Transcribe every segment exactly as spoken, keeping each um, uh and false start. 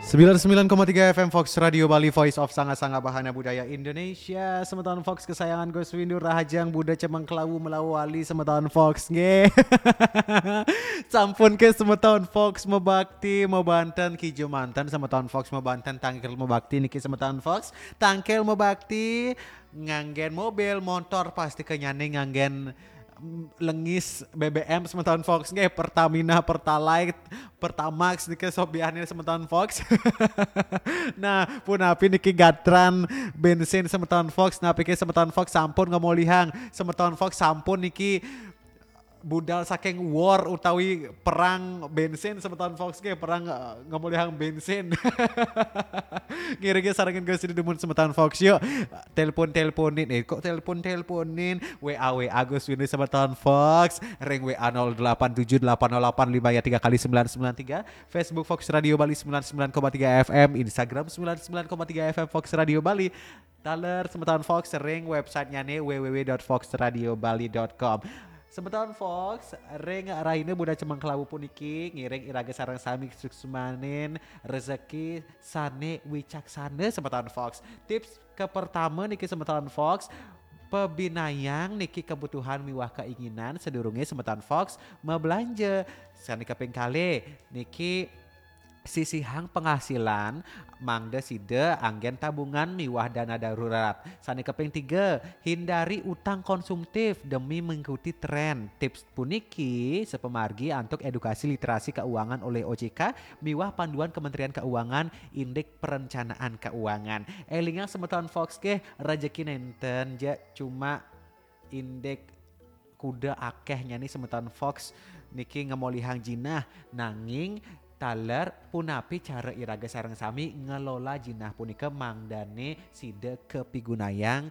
Sembilan sembilan koma tiga F M Fox Radio Bali, Voice of Sanga-Sanga Bahana Budaya Indonesia. Semeton Fox kesayangan Gus Windu, rahajeng Buda Cemeng Kelawu melawali semeton Fox nggih. Sampun ke semeton Fox mebakti, mebanten kija manten semeton Fox, mebanten tangkil mebakti niki semeton Fox. Tangkil mebakti nganggen mobil, motor, pasti kenyane nganggen mm, lengis B B M semeton Fox nggih, Pertamina, Pertalite, Pertamax niki sobiane semeton Fox. Nah, punapi niki gatran bensin semeton Fox, napi ke semeton Fox sampun ngemolihang, semeton Fox sampun niki budal saking war utawi perang bensin semeton Fox nggih, perang eh, ngemolihang bensin. Ngiringi sarengin Gus Windu dumun semeton Fox yuk. Telepon-teleponin, eh kok telepon-teleponin, W A W A Gus Windu semeton Fox, ring W A nol delapan tujuh delapan nol delapan lima ya tiga kali sembilan sembilan tiga, Facebook Fox Radio Bali sembilan sembilan koma tiga F M, Instagram sembilan sembilan koma tiga F M Fox Radio Bali. Taler semeton Fox ring websitenya nih w w w dot fox radio bali dot com. Semeton Fox, ring raine Buda Cemeng Kelawu puniki ngiring iraga sareng sami suksmanin rezeki sane wicaksana semeton Fox. Tips kepertama niki semeton Fox, pebinayang niki kebutuhan miwah keinginan sedurunge semeton Fox mebelanja. Sane kaping kalih niki sisihang penghasilan mangda sida anggen tabungan miwah dana darurat. Sane kaping tiga, hindari utang konsumtif demi mengikuti tren. Tips puniki sepemargi antuk edukasi literasi keuangan oleh O J K miwah panduan Kementerian Keuangan indik perencanaan keuangan. Elingang semeton Fox nggih, rejeki nenten ja cuma indik kuda akeh nyani semeton Fox niki ngemolihang jinah, nanging taler punapi cara iraga sareng sami ngelola jinah punika mangdane sida kepigunayang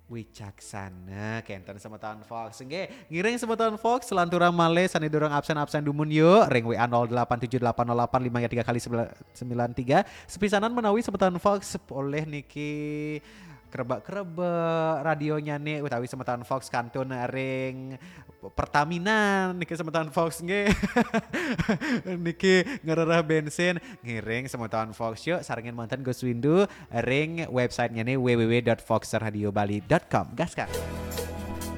wicaksana kenten semeton Fox. Nggih, ngiring semeton Fox selanturang malih sane durung absen-absen dumun yuk ring W A nol delapan tujuh delapan nol delapan lima tiga kali sembilan tiga. Sepisanan menawi semeton Fox oleh niki krebak-krebak radionya nih utawi semeton Fox kantun ring Pertamina niki semeton Fox nggih. Niki ngerereh bensin, ngiring semeton Fox yuk sarengin manten Gus Windu ring websitenya nih w w w dot fox radio bali dot com. Gas kan?